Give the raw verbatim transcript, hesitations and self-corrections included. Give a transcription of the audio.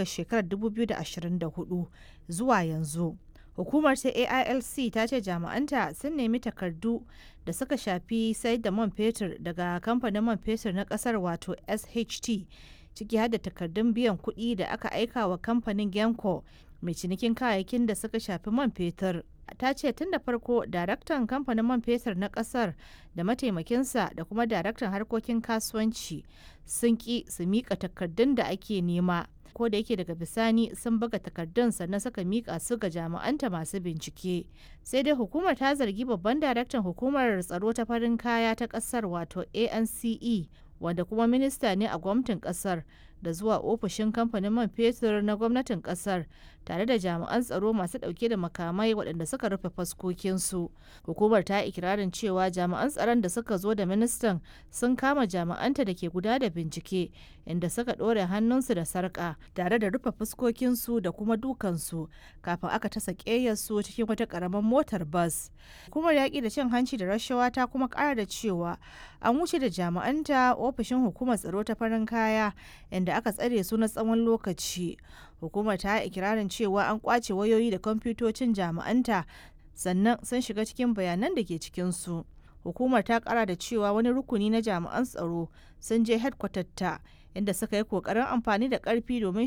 daga shekarar dubu biyu da ashirin da hudu zuwa yanzu. Hukumar ta A I L C ta ce jami'anta sun nemi takardu da suka shafi sayar da man fetur daga kamfanin man fetur na kasar wato S H T, ciki har da takardun biyan kuɗi da aka aika wa kamfanin Genco mai cinikin kayayyakin da suka shafi man fetur. Ta ce tun da farko daraktan kamfanin man fetur na kasar da mataimakinsa da kuma daraktan harkokin kasuwanci sun ki su mika takardun da ake nema, ko da yake daga bisani sun buga takardun sannan suka mika su ga jami'anta masu bincike. Sai dai hukumar ta zargi babban daraktan hukumar tsaro ta farin kaya ta kasar wato A N C E, wanda kuma minista ne a gwamnatin kasar, da zuwa ofishin kamfanin man fetur na gwamnatin kasar tare da jami'an tsaro masu dauke da makamai waɗanda suka rufe faskokinsu. Hukumar ta ikirarin cewa jami'an tsaron da suka zo da ministan sun kama jami'anta da ke guda da bincike, inda suka ɗore hannunsu da sarƙa tare da rufe fuskokinsu da kuma dukansu kafin aka tasa ƙeyarsu cikin wata ƙaramar motar bas. Hukumar yaƙi da cin hanci da rashawa ta kuma ƙara da cewa an wuce da jami'anta ofishin hukumar tsaro ta farin kaya, inda aka tsare su na tsawon lokaci. Hukumar ta yi ikirarin cewa an kwace wayoyi da kwamfutocin jami'anta sannan sun shiga cikin bayanan da ke cikinsu. Hukumar ta kara da cewa wani rukuni na jami'an tsaro sun je ta inda suka yi kokarin amfani da karfi domin